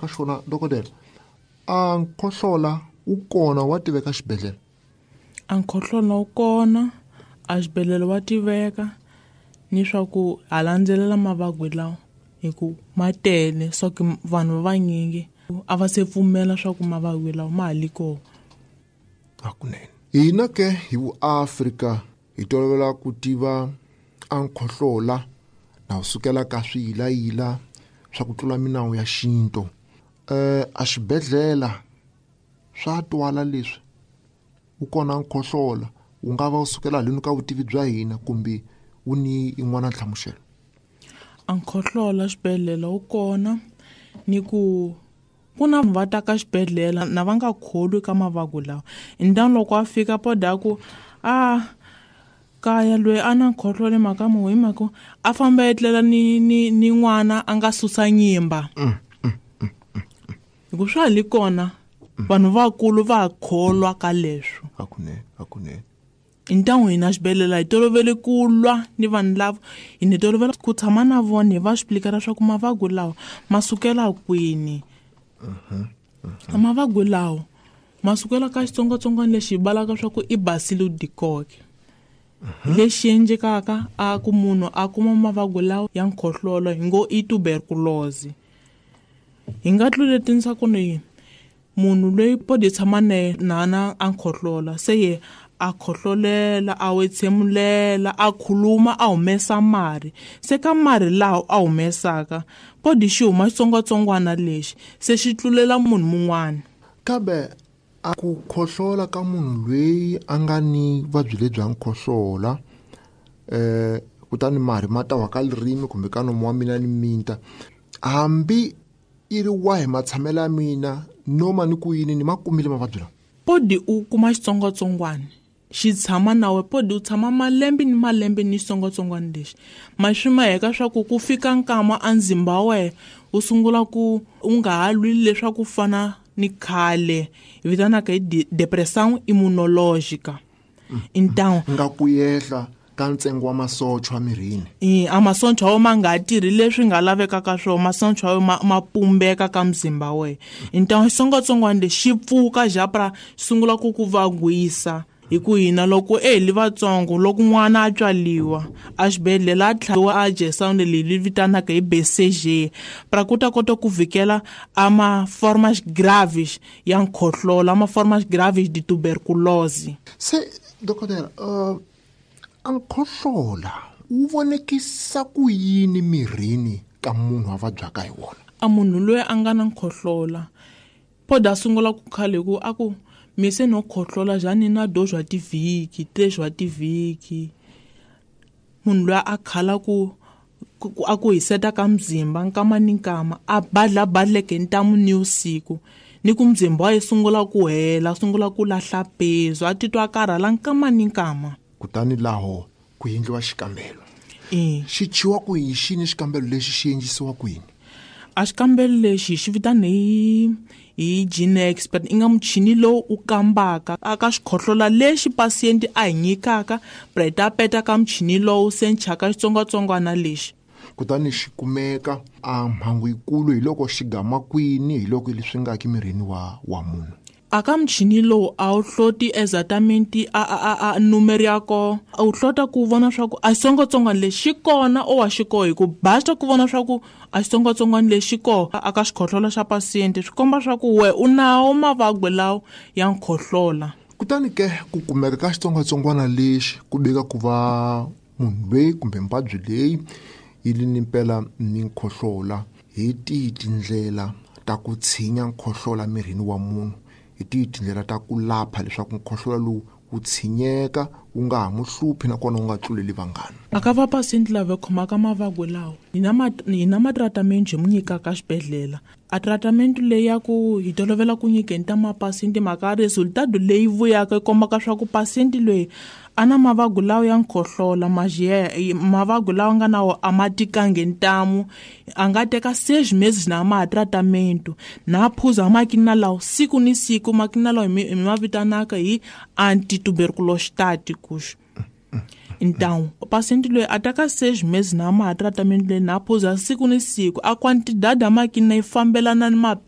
Ka xona dokodela, a nkhohlola wu kona wa tiveka xibedhlele? A nkhohlola wu kona a xibedhlele wa tiveka, ni swa ku ha landzelela mavabyi lawa hi ku ma tele swa ku vanhu va vanyingi a va se pfumela swa ku mavabyi lawa ma ha li kona. Hakunene hina ke hi vuAfrika hi tolovela ku tiva a nkhohlola na wu sukela ka swiyilayila swa ku tlula minawu ya xintu. A xibedhlele swa twala leswi wu kona nkhohlola wu nga va wu sukela haleni ka vutivi bya hina kumbe wu ni yin'wana nhlamuselo? A nkhohlola xibedhlele wu kona, ni ku ku na va ta ka xibedhlele na va nga kholwi ka mavabyi lawa. Hi loko a fika poda ku a kaya loyi a na nkhohlolo mhaka mo hi mhaka a famba etlela ni n'wana a nga susa nyimba. Hi ku swa ha li kona vanhu vakulu va kholwa ka leswo. Hakunene, hakunene. Hi ntangu hina xibedhlele hi tolovele ku lwa ni vanhu lava, hi ni tolovela ku tshama na vona hi va xiplikela swa ku mavabyi lawa ma sukela kwini. Mavabyi lawa ma sukela ka xitsongwatsongwana lexi hi balaka swa ku i Bacillus dikoke. Lexi endlekaka a ku munhu a kuma mavabyi lawa ya nkhohlolo hi ngo i tuberculosis. Hi nga tluletinisa ku ni munhu loyi podi tshama na yena na a nkhohlola, se ye a khohlolela, a wetsemulela, a khuluma, a humesa mari. Se ka mari lawa a humesaka podi xi huma xitsongwatsongwana lexi se xi tlulela munhu mun'wana. Kambe a ku khohlola ka munhu loyi a nga ni vuvabyi lebyi bya nkhohlola, kutani mari ma ta wa ka ririmi kumbe ka nomu wa mina ni minta, hambi i ri wahi matshamelo ya mina noma ni ku yini ni ma kumile mavabyi lawa? Podi u kuma xitsongwatsongwana xi tshama na we, podi u tshama malembe ni malembe ni xitsongwatsongwana lexi. Ma swi maheka swa ku ku fika nkama a ndzimba wa wena wu sungula ku u nga ha lwi leswaku fana ni khale, hi vitanaka hi depressão immunológica. Então nga ku yehla ka ntsengo wa masocha emirini. A masocha wo ma nga tirhi leswi nga lavekaka swona, masocha wo ma pumbeka ka mzimba wa wena. Então xitsongwatsongwana lexi xi pfuka japra xi sungula ku ku vagwisa. Hi ku hina loko e li vatsongo loko n'wana a tswaliwa a xibedhlele a tlhaviwa a injection leyi vitanaka hi BCG pra ku ta kota ku vhikela a ma formas graves ya nkhohlola, a ma formas graves de tuberculose. Se dokodela, a nkhohlola wu vonekisa ku yini mirini ka munhu a vabyaka hi wona? A munhu loyi a nga na nkhohlola poda a sungula ku khale ku a ku mi se no khohlola njhani na do zwa tivhiki, te zwa tivhiki. Munhu loyi a khala ku a ku hiseta ka mzimba nkama ni nkama, a badla badleke ntamu ni usiku, ni ku mzimba wa ye sungula ku hela, sungula ku lahla pezu, a titwa a karhala nkama ni nkama. Kutani laho ku endliwa xikambelo. Xi chiwa ku yini? Xini xikambelo lexi xi endlisiwa ku yini? A xikambelo lexi xi vitana hi GeneXpert, i nga muchini lowu u kambaka aka xikhohlola lexi pasienti a hi nyikaka, pra ta peta ka muchini lowu se nchaka xitsongwatsongwana lexi. Kutani xi kumeka a mhangu yikulu hi loko xi gama kwini, hi loko leswi nga ki mirini wa munhu. Aka muchini lowu a wu hloti exatamente a numero ya kona, a wu hlota ku vona swa ku a xitsongwatsongwana lexi xi kona o wa xi koho, hi ku basta ku vona swa ku a xitsongwatsongwana lexi xi koho aka xikhohlola xa pasiente, swi komba swa ku we u nawo mavabyi lawa ya nkhohlola. Kutani ke ku kumeka ka xitsongwatsongwana lexi ku vika ku va munhu loyi kumbe muvabyi leyi yi li ni mpela ni nkhohlola, hi tihi tindlela ta ku tshinya nkhohlola mirini wa munhu? Hi tihi tindlela ta ku lapha leswaku nkhohlola lowu wu tshinyeka wu nga ha mu hluphi nakona wu nga tluleli vanghana? A ka va pasienti lava khomaka mavabyi lawa, hi na matratamente hi mu nyikaka xibedhlele. A tratamente leyi ya ku hi tolovela ku nyikeni ta mapasienti mhaka resultado leyi vuyaka yi kombaka swa ku pasienti loyi a na mavabyi lawa ya nkhohlola, mavabyi lawa nga na wo a ma tikangi ntamu, a nga teka 6 meses na ma tratamente, na phuza makina lawa siku ni siku, makina lawa hi ma vitanaka hi antituberculostáticos. Então, o paciente loyi a teka 6 meses na ma tratamente leyi na phuza siku ni siku, a quantidade ya makina yi fambelana ni